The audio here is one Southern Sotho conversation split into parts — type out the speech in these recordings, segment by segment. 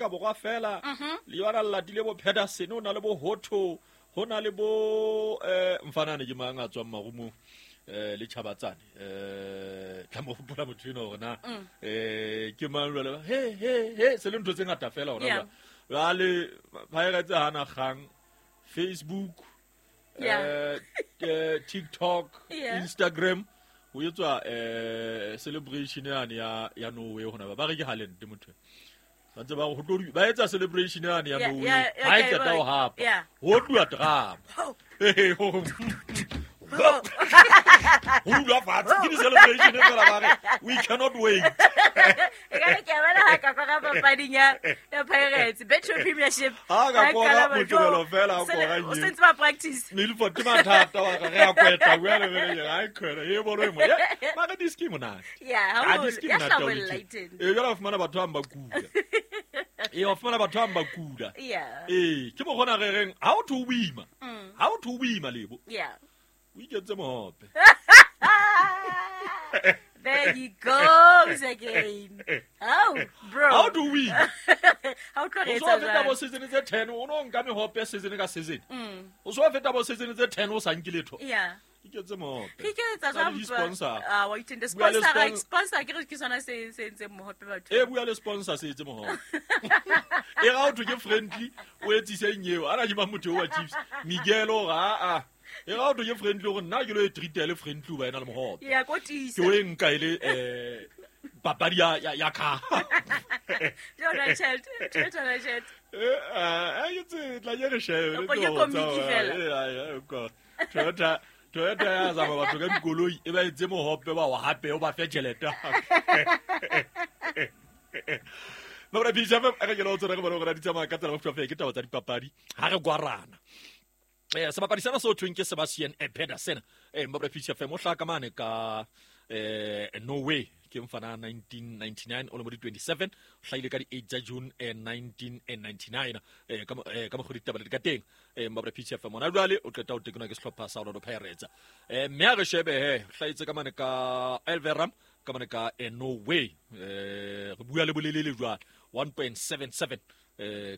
Borwa fela le yona le latile bo Pedersen, o na le bo Hotto, ho na le bo mfanane ke mang a tswang marumong le Chabatsane tla mo hopola motho eno hore na ke mang jwale he he he se le ntho tse ngata fela hona jwale Pirates hana kgang Facebook TikTok Instagram ho etswa celebration yane ya Norway hona ba re ke Haaland motho ba ntse ba ho tlo ba etsa celebration yane ya Norway ha e qeta ho hapa ho tluwa drama ho dula fatshe ke di-celebration fela ba re we cannot wait. E ka re ke a bona ha ka kora papading ya Pirates Betway Premiership. Ha ka kora Mokibelo fela a kora o sentse ba practice. Milford ke mathata wa re a kweta bua le bele ha e khona e bolo e mo mara diski monate. Yeah, ha diski monate. E jwale wa fumana batho ba kula. E wa fumana batho ba kula. Yeah. E ke mo gona re reng ha o tho boima. Ha o tho boima lebo. Yeah. O iketse mohope. There he goes again. Oh, bro. How do we? How tlo re etsa jwang? O so feta bo season tse 10, o no nka mehope season ka season. O so feta bo season tse 10 o sa nke letho. Yeah. Iketse mohope. Re iketsa jwang? Sponsor. Ah, wa itende sponsor, sponsor ke re ke sona se se entseng mohope batho. E bua le sponsor se etse mohope. E ga o thwe ke friendly, o etsise eng eo? Ana ke mang motho wa Chiefs? Miguel o ga a. E ga o thwe ke friendly gore nna ke lo e treat le friendly ba ena le mohope. Yeah, ko tisa. Ke o e nka ile papadi ya ka. Yona tjhelete, tjhelete tjhelete. Eh, ke tla ke re shebe. Ke komiki fela. Toyota ya zama batho ka dikoloi e ba etse mohope ba o hape o ba fe tjhelete. Mabra Peace FM re ke lo tsora re bona gore di tsamaya ka tsela mofuta ke taba tsa dipapadi ha re gwarana. Sebapadi sena se thweng ke Sebastian Pedersen Mabra Peace FM o hlaka mane ka Norway ke mfana 1999 o le mo di 27 o hlahile ka di 8 tsa June 1999 ka mokgwa ditaba di ka teng Mabra Peace FM ona jwale o qeta ho tekenwa ke sehlopha sa Orlando Pirates mme a re shebe he hlahetse ka mane ka Elverum ka mane ka Norway re bua le bolelele jwale 1.77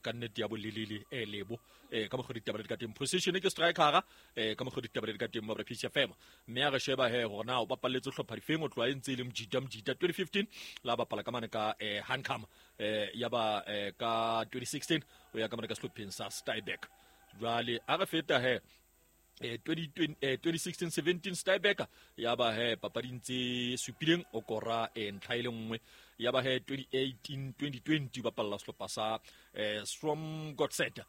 ka nnete ya bolelele lebo ka mokgwa ditaba di ka teng position ke striker ka mokgwa ditaba di ka teng Mabra Peace FM mme a re sheba he hore na o bapalletse hlopha difeng o tloha e ntse e le mjita 2015 la bapala ka mane ka Hankam ya ba ka 2016 o ya ka mane ka sehlopheng sa Stabæk jwale a re feta he 2016-17 Stabæk ya ba he papading tse supileng o kora ntlha e le nngwe ya ba he 2018-2020 bapalla sehlopha sa Stromgodset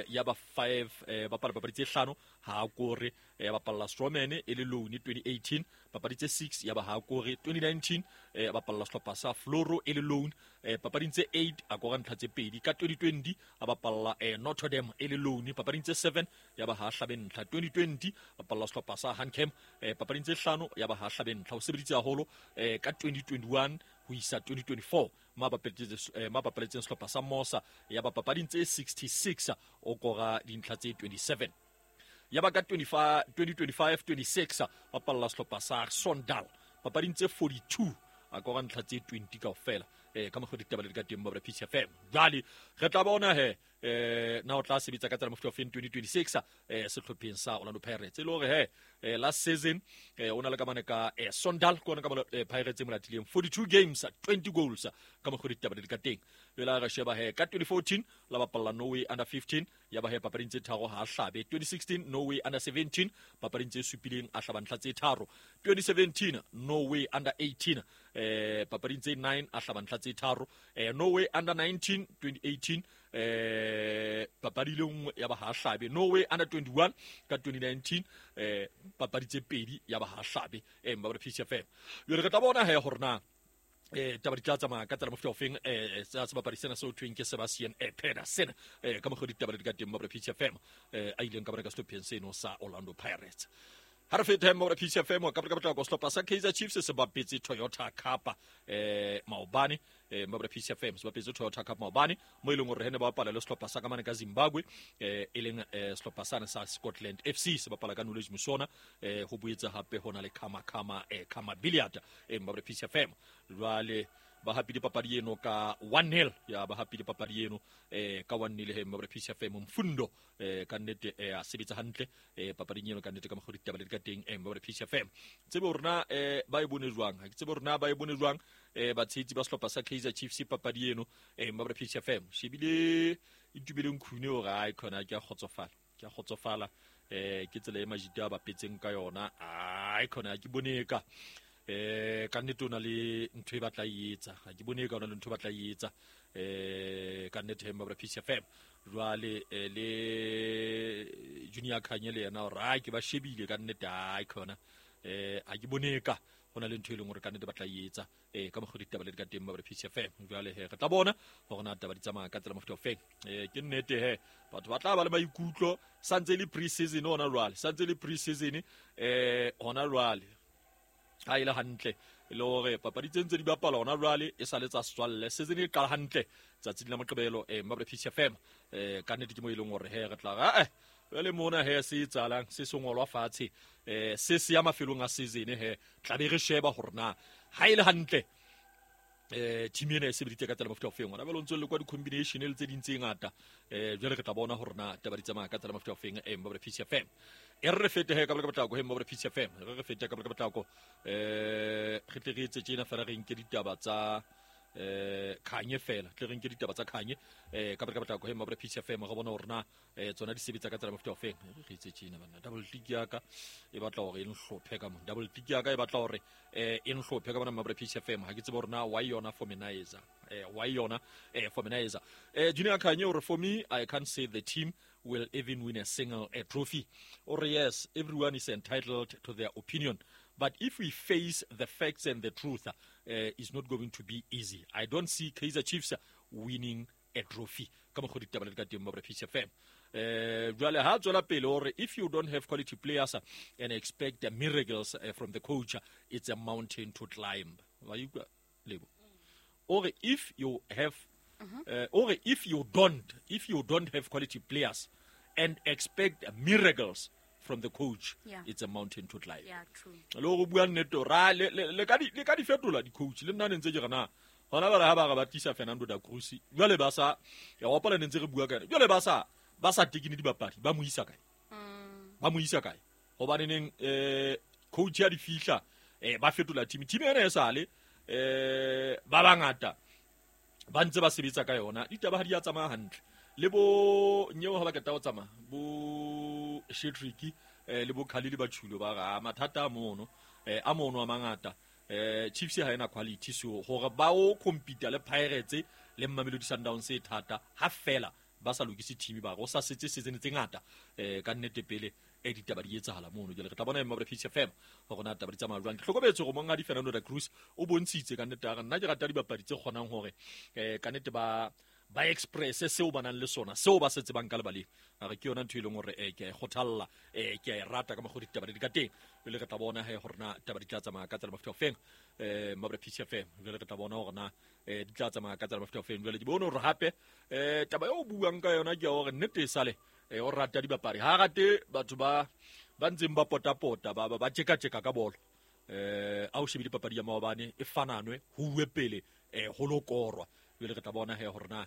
ya ba 5 bapala papadi tse hlano ha kore ya bapalla Strommen e le loan 2018 papadi tse 6 ya ba ha kore 2019 bapalla sehlopha sa Floro e le loan papading tse 8 a kora ntlha tse pedi ka 2020 a bapalla Notre Dame e le loan papading tse 7 ya ba ha hlabe ntlha 2020 bapalla sehlopha sa Hancam papading tse hlano ya ba ha hlabe ntlha o sebeditse haholo ka 2021 ho isa 2024 ma bapaletseng sehlopha sa Mosa ya ba papading tse 66 o kora dintlha tse 27 ya ba ka 2025-26 bapalla sehlopha sa Sondal papading tse 42 a kora ntlha tse 20 kaofela ka mokgwa ditaba le di ka teng Mabra Peace FM jwale re tla bona he na o tla sebetsa ka tsela mofuta of 2026 sehlopheng sa Orlando Pirates e le hore he last season o na le ka mane ka Sondal ke ona ka Pirates e molatileng 42 games 20 goals ka mokgwa ditaba le di ka teng jwale re sheba he ka 2014 la bapalla Norway under 15 ya ba he papading tse tharo ha hlabe 2016 Norway under 17 papading tse supileng a hlaba ntlha tse tharo 2017 Norway under 18 papading tse 9 a hlaba ntlha tse tharo Norway under 19 2018 papadi le nngwe ya ba ha hlabe Norway under 21 ka 2019 papadi tse pedi ya ba ha hlabe Mabra Peace FM jwale re tla bona he hore na taba di tla tsamaya ka tsela mofuta ofeng sa sebapadi sena se o thweng ke Sebastian Pedersen ka mokgwa ditaba di ka teng Mabra Peace FM a ileng ka bona ka sehlopheng seno sa Orlando Pirates ha re fete Mabra Peace FM ka potlako sehlopha sa Kaizer Chiefs se bapetse Toyota Cup maobane Mabra Peace FM se bapetse Toyota Cup maobane mo e leng hore hene ba bapala le sehlopha sa ka mane ka Zimbabwe e leng sehlopha sane sa Scotland FC se bapala ka Knowledge Musona ho boetse hape hona le Kama Kama Billiard Mabra Peace FM jwale Ba hapile papadi eno ka 1-0. Ya ba hapile papadi eno ka 1-0 he Mabra Peace FM. Mfundo ka nnete a sebetsa hantle papading eno ka nnete ka mokgwa ditaba le di ka teng Mabra Peace FM. Tsebe hore na ba e bone jwang, ha ke tsebe hore na ba e bone jwang batshehetsi ba sehlopha sa Kaizer Chiefs papadi eno Mabra Peace FM. Shebile Itumeleng Khune hore ai khona ke a kgotsofala, ke a kgotsofala ke tsela e majita a bapetseng ka yona. Ai khona ke bone ka ka nnete o na le ntho e batla e etsa, ha ke bone ka o na le ntho e batla e etsa ka nnete he Mabra Peace FM. Jwale le Junior Khanye le yena hore ai ke ba shebile ka nnete, ai khona ha ke bone ka ho na le ntho e leng hore ka nnete batla e etsa ka mokgwa ditaba le di ka teng Mabra Peace FM. Jwale he re tla bona hore na taba di tsamaya ka tsela mofuta ofeng. Ke nnete he batho ba tla ba le maikutlo santse le pre-season hona jwale, santse le pre-season hona jwale. Ha ile hantle le hore papadi tse ntse di bapala hona jwale e sa le tsa setswalle, season e qala hantle tsatsing la Moqebelo Mabra Peace FM. Ka nnete ke mo e leng hore he re tla ra jwale mona he se etsahalang se sengolwa fatshe se se ya mafelong a season he tla be re sheba hore na ha ile hantle team ena e sebeditse ka tsela mofuta ofeng. Hona jwale o ntso le kwa di-combination le tse ding tse ngata jwale re tla bona hore na taba di tsamaya ka tsela mofuta ofeng Mabra Peace FM. E re fete he ka boleka potlako he Mabra Peace FM, re fete ka boleka potlako re tle re etse tjena fela re nke ditaba tsa Khanye fela, tle re nke ditaba tsa Khanye ka boleka potlako he Mabra Peace FM, re bona hore na tsona di sebetsa ka tsela mofuta ofeng. Re etse tjena banna, double click ya ka e batla hore e nhlophe ka mona, double click ya ka e batla hore e nhlophe ka mona Mabra Peace FM. Ha ke tsebe hore na why yona for menizer, why yona for menizer. Junior Khanye hore for me I can't say the team will even win a single trophy. Or yes, everyone is entitled to their opinion, but if we face the facts and the truth, it's not going to be easy. I don't see Kaizer Chiefs winning a trophy. Ka mokgwa ditaba le di ka teng Mabra Peace FM. Jwale ha tswela pele hore if you don't have quality players and expect miracles from the coach, it's a mountain to climb. Wa utlwa Lebo? Or if you have or if you don't have quality players and expect miracles from the coach, yeah, it's a mountain to climb. Yeah, true. Le go bua nnete ra le ka di fetola di coach le nna ne ntse ke re na hona ba re ha ba re ba tlisa Fernando da Cruz jwale ba sa ya hopola ne ntse re bua ka yena jwale ba sa tekine dibapadi ba mo isa kae, ba mo isa kae hobane neng coach ya di fihla ba fetola team ena e sale ba bangata ba ntse ba sebetsa ka yona, ditaba ha di a tsamaya hantle. Le bo nyeo ha ba keta ho tsamaya bo Shetriki le bo Khalili ba Chulo ba ra mathata a mono a mono a mangata Chiefs ha ena quality, so hore ba o compete le Pirates le Mamelodi Sundowns e thata ha fela ba sa lokise team ba go sa setse season tse ngata ka nnete pele e ditaba di etsahala mono. Jwale re tla bona Mabra Peace FM hore na taba di tsamaya jwang. Ke hlokometse hore monghadi Fernando da Cruz o bontshitse ka nnete a re nna ke rata dibapadi tse kgonang hore ka nnete ba express seo ba nang le sona, seo ba se tsebang ka lebaleng. A re ke yona ntho e leng hore ke a e kgothalla, ke a e rata ka mokgwa ditaba di ka teng. Jwale re tla bona he hore na taba di tla tsamaya ka tsela mofuta ofeng Mabra Peace FM. Jwale re tla bona hore na di tla tsamaya ka tsela mofuta ofeng. Jwale ke bone hore hape taba eo buang ka yona ke hore nnete e sale o rata dibapadi, ha rate batho ba ntseng ba potapota ba tjeka-tjeka ka bolo. A o shebile papadi ya maobane e fananwe ho uwe pele ho lo korwa. Jwale re tla bona he hore na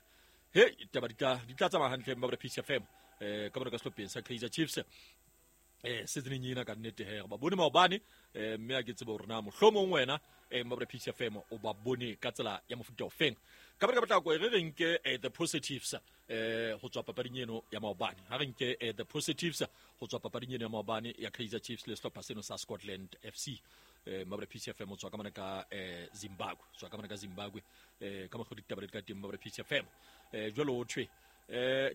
he taba di tla tsamaya hantle Mabra Peace FM ka bona ka sehlopheng sa Kaizer Chiefs season ena ka nnete he ba bone maobane mme a ke tsebe hore na mohlomong wena Mabra Peace FM o ba bone ka tsela ya mofuta ofeng. Ka ba ka potlako re re nke the positives ho tswa papading eno ya maobane. Ha re nke the positives ho tswa papading eno ya maobane ya Kaizer Chiefs le sehlopha seno sa Scotland FC. Mabra Peace FM o tswa ka mona ka Zimbabwe, tswa ka mona ka Zimbabwe ka mokgwa ditaba le ka teng Mabra Peace FM. Jwale o thwe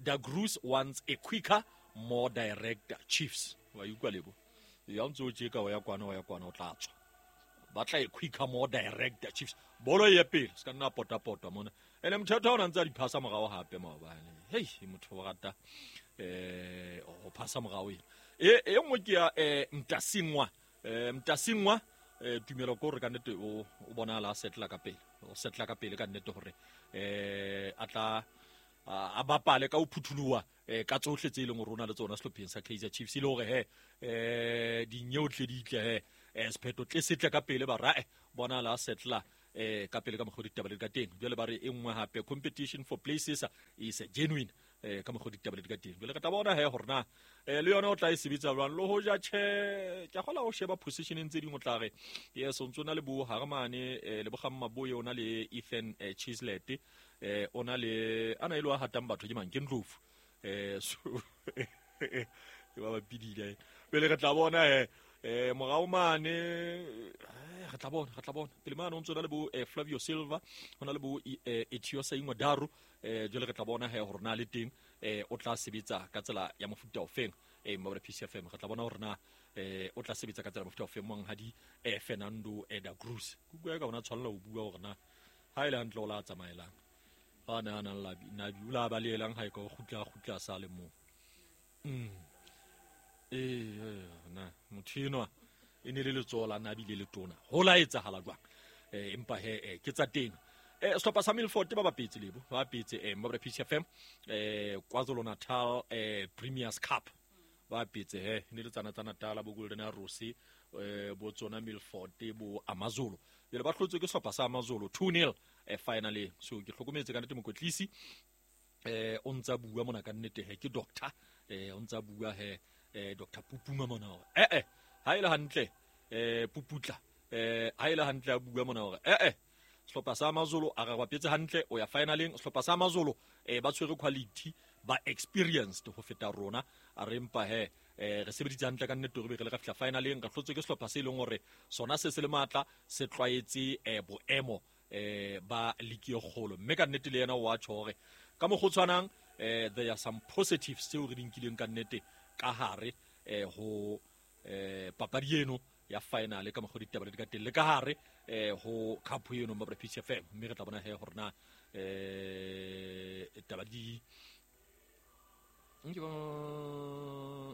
Da Cruz wants a quicker, more direct Chiefs. Wa utlwa Lebo? Ya ntse o tjeka wa ya kwana o tla tswa. Ba tla e quicker, more direct Chiefs. Bolo e pele se ka nna potapota mona. Ene motho o ntse a di phasa morao hape maobane. Hei motho o rata ho phasa morao ena. E nngwe ke ya Mtasingwa. Mtasingwa tumelo ko re ka nnete o bonahala a setla ka pele. O setla ka pele ka nnete hore a tla a bapale ka ho phuthuloha ka tsohle tse leng hore o na le tsona sehlopheng sa Kaizer Chiefs, e le hore he dinyeotle di tle he sephetho tle setle ka pele ba ra bona la setla ka pele ka mokgwa ditaba le ka teng. Jwale ba re e nngwe hape competition for places is genuine ka mokgwa ditaba le ka teng. Jwale re tla bona he hore na le yona o tla e sebetsa jwang, le hoja tjhe ke a kgola ho sheba positioneng tse ding o tla re yes o ntso na le bo Harmane le bo Gammaboye, o na le Ethan Chislet, o na le ana e le wa hatang batho ke mang, ke Ndlovu, so ke ba bapidile. Pele re tla bona morao mane, re tla bona pele mane o ntso na le bo Flavio Silva, ho na le bo Etiosa Ingwadaru, jwale re tla bona he hore na le teng o tla sebetsa ka tsela ya mofuta ofeng. Mabra PCFM re tla bona hore na o tla sebetsa ka tsela ya mofuta ofeng monghadi Fernando da Cruz. Ke ka bona tshwanela ho bua hore na ha ile hantle o la tsamaelang ha na na la nabi o la balehelang ha e ka kgutla sa le mo. Na motho enwa e ne le letsoho la nabi le letona ho la etsahala jwang? Empa he ke tsa teng. Sehlopha sa Milford ba bapetse lebo ba bapetse Mabra PCFM KwaZulu Natal Premier's Cup ba bapetse he ne le tsana tsa Natal bo Golden Arrows bo tsona Milford bo Amazulu. Jwale ba hlotswe ke sehlopha sa Amazulu 2-0 finally. So ke hlokometse ka nnete mokotlisi o ntsa bua mona ka nnete he ke doctor o ntsa bua he Dr. Pupuma mona hore ha ile hantle Puputla ha ile hantle a bua mona hore sehlopha sa Amazulu a re bapetse hantle o ya finaleng. Sehlopha sa Amazulu ba tshwere quality, ba experienced ho feta rona, a re empa he re sebeditse hantle ka nnete re be re le ka fihla finaleng. Re hlotswe ke sehlopha se leng hore sona se se le matla, se tlwaetse boemo ba ligi e kgolo, mme ka nnete le yena o a tjho hore ka mokgwa o tshwanang there are some positives tseo re di nkileng ka nnete ka hare ho papadi eno ya final ka mokgwa ditaba le ka teng le ka hare ho cup eno Mabra PCFM. Mme re tla bona he hore na taba di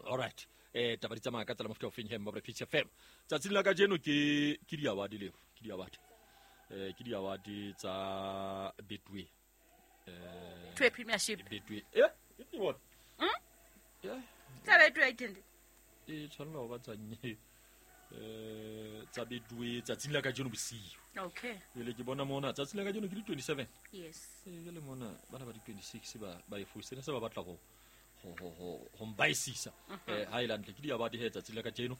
all right taba di tsamaya ka tsela mofuta ofeng he Mabra PCFM. Tsatsing la kajeno ke di-award leo, ke di-award ke di-award tsa Betway Betway Premiership Betway ke bona tsa Betway ke e tshwanela ho ba tsanye tsa Betway tsatsing la kajeno bosiu. Okay, jwale ke bona mona tsatsing la kajeno ke di 27. Yes, jwale mona bana ba di 26 ba e fositse se ba batla ho mbaisisa ha ile hantle ke di-award he tsatsing la kajeno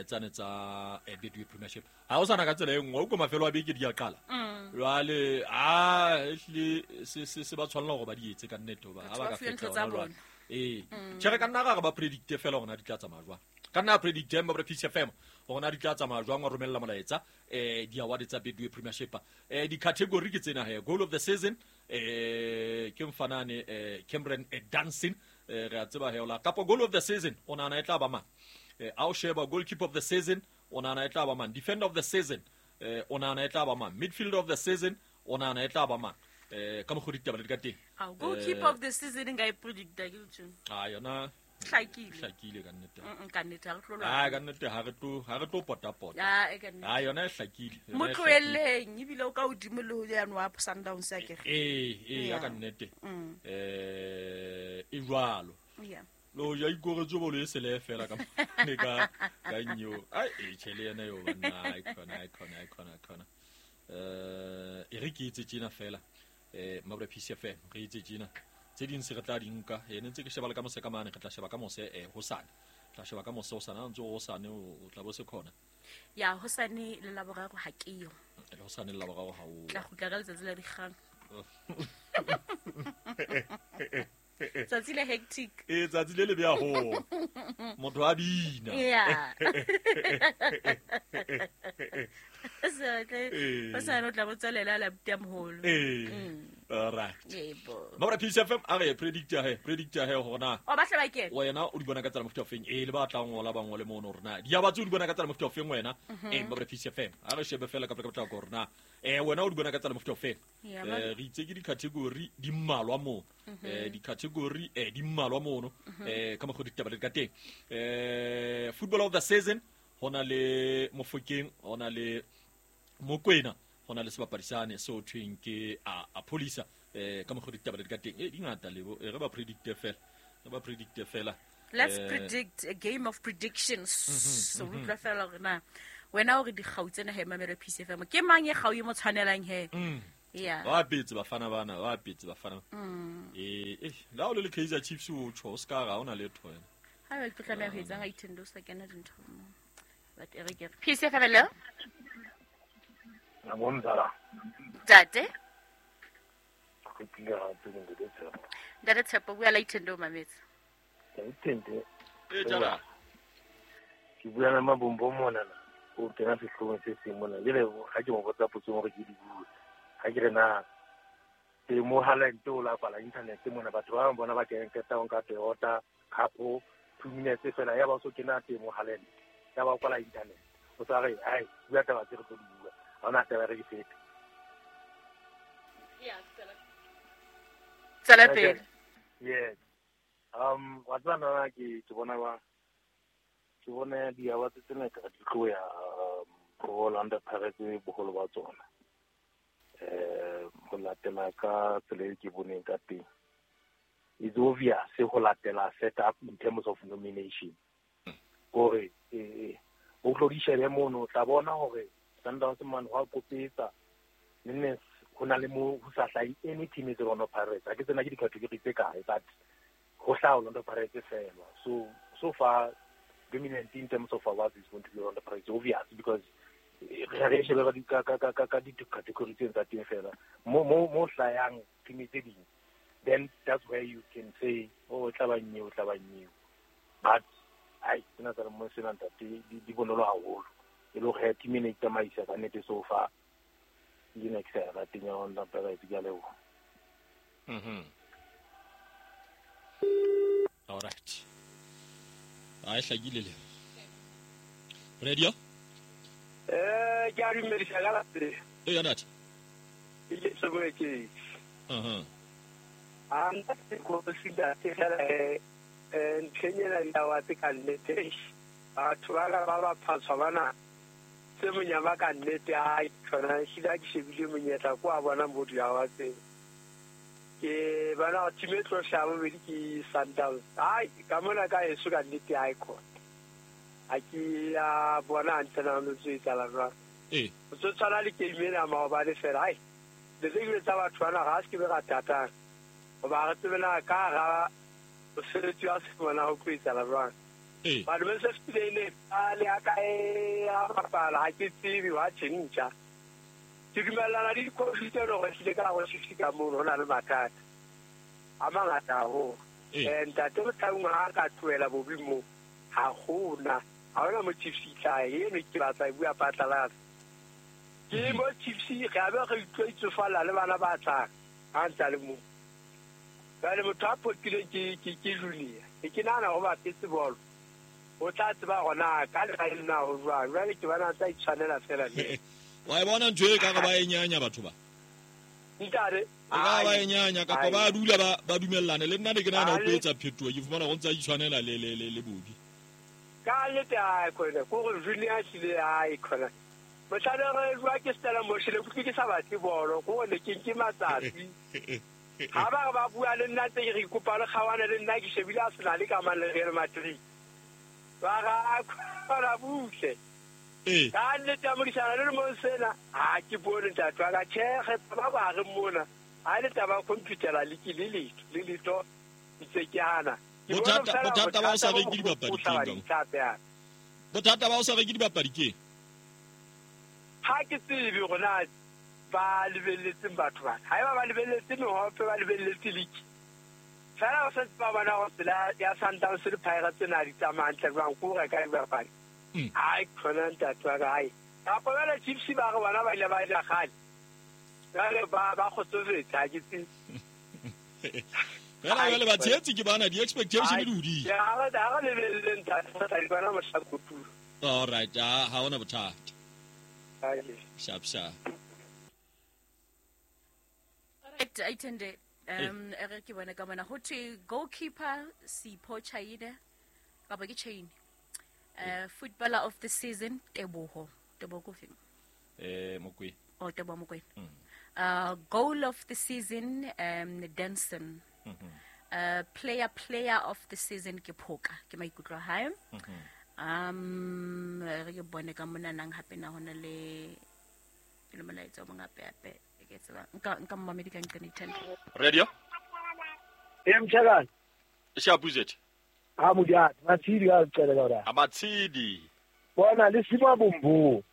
tsane tsa Betway Premiership. Ha o sana ka tsela e nngwe o ko mafelo a beke di a qala jwale a ehlile se ba tshwanela hore ba di etse ka nnete hoba ha ba ka feta hona jwale. Tjhe re ka nna ra ba predicte fela hore na di tla tsamaya jwang, ka nna predicte Mabra PCFM hore na di tla tsamaya jwang, wa romella molaetsa di-award tsa Betway Premiership. Di-category ke tsena he: goal of the season ke mfanane Cameron Danson, re a tseba he ola kapo goal of the season o nahana e tla ba mang, a o sheba goalkeeper of the season o nahana e tla ba mang, defender of the season o nahana e tla ba mang, midfielder of the season o nahana e tla ba mang, ka mokgwa ditaba le di ka teng. Goalkeeper of the season nka e predicta ke tjho. Yona hlakile ka nnete. Ka nnete ha re tlo lwana. Ka nnete ha re tlo pota pota. Yona e hlakile. Mo tlohelleng ebile o ka hodimo le ho yano wa Sundowns ya kere. Ya ka nnete. E jwalo. Yeah. Lo ja ikoretse bolo e sele fela ka ne ka nyo. Ai e tjhe le yena yo banna ai khona. E re ke itse tjena fela. Mabra PCFM re itse tjena tse ding se re tla di nka ene ntse ke sheba le ka mose ka mane, re tla sheba ka mose hosane, tla sheba ka mose hosane ha ntse hosane o tla bo se khona ya hosane le laboraro ha ke yo le hosane le laboraro ha o tla kgutla ka letsatsi la dikgang tsatsi le hectic tsatsi le le beya ho motho a bina ya hosane o tla bo tswelela la buta moholo. All right. Yebo. Mabra PCFM a re predicta he hore na o batla ba kena wena o di bona ka tsela mofuta ofeng le ba tla ngola ba ngole mono hore na di a batse o di bona ka tsela mofuta ofeng wena Mabra PCFM a re shebe fela ka tla hore na wena o di bona ka tsela mofuta ofeng. Re itse ke di-category di mmalwa mo di-category di mmalwa mono ka mokgwa ditaba le ka teng. Football of the season hona le Mofokeng, hona le Mokwena, hona le sebapadi sane se ho thweng ke a Polisa ka mokgwa ditaba le ka teng. Di ngata lebo re ba predicte fela. Let's predict a game of predictions. So re tla fela hore na Wena o re dikgau tsena he mamelo Peace FM. Ke mang e kgau e mo tshwanelang he? Yeah. Ba apetse bafana bana, ba apetse bafana. La o le le Kaizer Chiefs o tjho, o ska ga ona letho wena. Ha ba ke tlameha ho etsang a ithende o sa kena dintho mo. But e re ke re. Peace FM hello. Nabonzala. Ntate. Ke tlile gape ke ntate Tshepo. Ntate Tshepo bua la ithende o mametse. Ithende. Jala. Ke bua le Mabombo mona na. O kena sehloohong se seng mona. Jwale ha ke mo botsa potso hore ke di bue. Ha ke re na temo Haaland o la kwala internet mona batho ba bang bona ba kena qeta ho nka Toyota Cup 2 minutes fela ya ba so kena temo Haaland. Ya ba kwala internet. O tsa re ai bua taba tse re tlo di bua. Ha ona taba re di fete. Yeah, tswela pele. Yes. Wa tseba nna ke bona ba ke bona di-awards tsena ka di tlo ya Orlando Pirates boholo ba tsona. Ho latela ka tsela e ke boneng ka teng. It's obvious ho latela set up in terms of nomination. Hore o tlo di shebe mono o tla bona hore Sundowns man wa kopetsa nne ho na le mo ho sa hlahe any team e Orlando Pirates. Ha ke tsena ke di-category tse kae but ho hlaha Orlando Pirates fela. So far dominant in terms of awards is going to be Orlando Pirates, obvious because re shebe ka di-category tse tsa teng fela. Mo hlayang team tse ding, then that's where you can say oh tla ba nnye, o tla ba nnye. But ai tsena tsa mo sena ntate di bonolo haholo. E le hore team ena e tsamaisa ka nnete so far. Ke ne ke sa rateng ya Orlando Pirates, ke a leboha. All right. A e hlakile le. Radio? Ke a dumedisa ka lapeng. Ya ntate. Ke tsebo ke. A ntate ko se ntate fela ntlheng ena ya wa tse ka nnete. Batho ba ka ba ba phatswa bana. Tse monyama ka nnete a tsona hlile ke shebile monyetla ko a bona motho ya wa tse. Ke bana team e tlo hlaha bobedi ke Sundowns. Ai ka mona ka heso ka nnete ai khona. Ha ke a bona hantle na no tse etsahala jwang. O tso tshwana le game ena maobane fela. Ai le tse dingwe tsa batho bana ga se ke be ra tatang. Hoba re tsebe na ka hara mosebetsi wa se bona ho tlo etsahala jwang. Batho ba se fetile ne a le a ka e a bapala ha ke tsebe wa tjhentjha. Ke dumellana le dikhosi tse leng hore hlile ka hare ho Chiefs ka mono ho na le mathata a mangata haholo. Ntate Motaung ha a ka tlohela bobi moo, ha hona mo Chiefs e tla eno ke batla e bua phatlalatsa. Ke mo Chiefs re a be re utlwa itsofala le bana ba tlang ha ntse a le moo. Jwale motho a potileng ke junior. Ke nahana hore ba bapetse bolo. O tla tseba hore na ka lehaeng na ho jwang. Jwale ke bona a tla itshwanela fela le. Wa e bona ntho e ka re ba e nyanya batho ba? Ntate, E ka ba e nyanya kapa ba dula ba dumellane. Le nna ne ke nahana ho tlo etsa phetoho, ke fumana ho ntse a itshwanela le Bobby. Ka nnete a khona, ko re junior hlile a e khona. Mohlala re jwa ke Stella Moshele, ke utlwe ke sa batle bolo, ko ne ke nke matsatsi. Ha ba re ba bua le nna tse ke re kopa le kgawane le nna ke shebile a sena le kamano le Real Madrid. Ba ra khona butle. Ka nnete ya modisana le lemong sena, ha ke bone ntate wa ka. Tjhe, re ba ba re mona. Ha le taba computer le ke le letho, le letho ntse ke hana. Ke bona Bothata, feela bothata ba ho sa bothata reke bo dibapadi bo ke hlaba eng ka mo? dithape yana. Bothata ba ho sa reke dibapadi ke eng? Ha ke tsebe hore na ba lebelletseng batho bana. Haeba ba lebelletse mehope, ba lebelletse league. Feela ba santse ba bona hore tsela ya Sundowns le Pirates tsena di tsamaya hantle jwang, ke ho reka dibapadi. Ai, khona ntate wa ka, ai. Kapa jwale Chiefs ba re bona ba ile ba ja kgale. Jwale ba kgotsofetse, ha ke tsebe. Fela jwale ba tshehetsi ke bana, di-expectation di hodimo. Ya, ha re lebelle ntate, re tla di bona mohla kotulo. All right, ha hona bothata. Ai. Sharp, sharp. All right, Aitende, re ke bone ka mona. Ho thwe goalkeeper Sipho Chaine, kapa ke Chaine. Footballer of the season Teboho. Teboho ko feng? Mokwena. Oh, Teboho Mokwena. Goal of the season, Denson. Player of the season ke Phoka, ke maikutlo a hae. Re ke bone ka monanang hape na hona le le molaetsa o mong hape ke tseba nka mmamedi ka nqane ithanda. Radio Mtshakane Shapuzet ha modiati Matshidi a tsele ka ora Amatshidi bona le sima bombo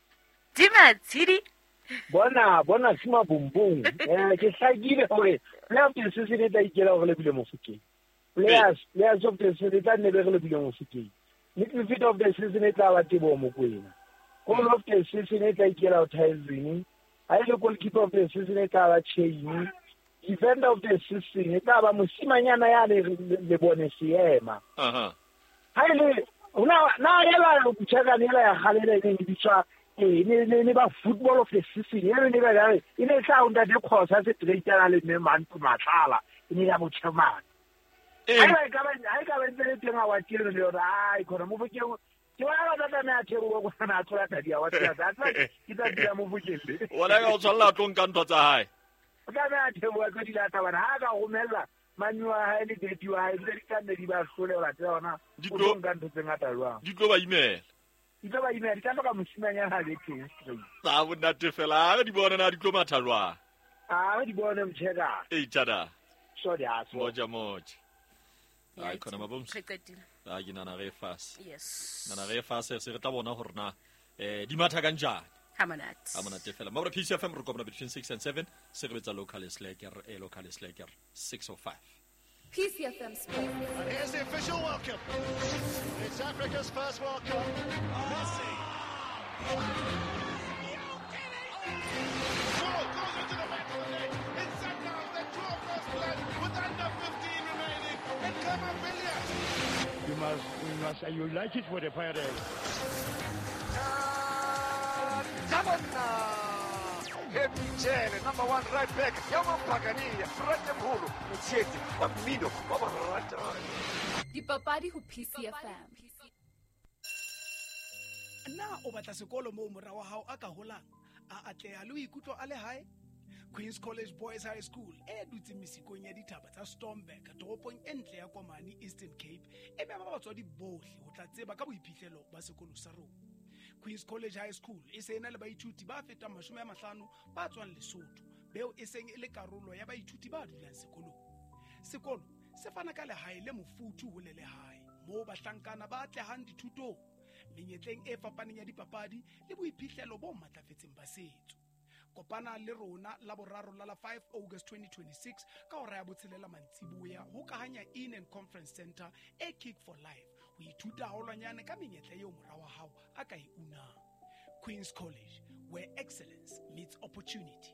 di Matshidi bona sima bombong ke hlakile hore player of the season e tla ikela hore le bile Mofokeng. Players of the season e tla nne be re le bile Mofokeng. Midfield of the season e tla ba Teboho Mokoena. Goal of the season e tla ikela ho Tyson. Ha ile goalkeeper of the season e tla ba Chain. Defender of the season e tla ba mosimanyana ya le bone seema. Ha ile na yela mtshakane yela ya kgalela e neng bitswa ne ba football of the season e ne ba re e ne tla ntate Khosa se treitana le mme Manto Matlala e ne ya botjhemane. Ha e ka ba ntse le teng a wa tiro le yona ai khona Mofokeng ke wa ba tla me a theoha go na tlola tadi a wa tsa tsa ke tla dira Mofokeng le wona ka o tshwalla tlo nka ntho tsa hae o tla me a theoha ka di lata bana ha ka romella mami wa hae le daddy wa hae di tla nne di ba hlole ba tsa ona o tlo nka ntho tse ngata jwang di tlo ba imela di tlo ba imela di tla hloka mosimanyana ha le teng straight tsa bonate fela re di bona na di tlo matha jwang a re di bone mtsheka e tada sorry a so moja moja ai khona mabomsi re qetile a ke nana re fase yes nana re fase se re tla bona hore na di matha ka njani ha monate fela mabra PCFM re kopana between 6 and 7 se re betsa local slacker local slacker 605 PCFM Sports. And here's the official welcome. It's Africa's first World Cup. Messi. Ball goes into the back of the net. It's Sundowns that draw first blood with under 15 remaining. And Khama Billiat. You must, you like it for the Pirates. Jele, number 1 right back, Yamampagania, Fratemholo, Motsheti, wa mmino, wa ba ratang. Dipapadi ho PCFM. Na o batla sekolo moo mora wa hao a ka holang, a atleha le ho ikutlwa a le hae? Queen's College Boys High School e dutseng mesikong ya dithaba tsa Stormberg, toropong e ntle ya Komani, Eastern Cape, e mema batswadi bohle ho tla tseba ka boiphihlelo ba sekolo sa rona. Queen's College High School e se ena le baithuti ba fetang 50 ba tswang Lesotho, beo e seng e le karolo ya baithuti ba dulang sekolong. Sekolo se fana ka lehae le mofuthu ho le lehae, moo bahlankana ba atlehang dithutong, menyetleng e fapaneng ya dipapadi le boiphihlelo bo matlafetseng ba setso. Kopana le rona la boraro la 5 August 2026 ka hora ya 6 mantsiboya ho Kahanya Inn and Conference Center e Kick for Life ho ithuta haholwanyane ka menyetla eo mora wa hao a ka e unang. Queen's College, where excellence meets opportunity.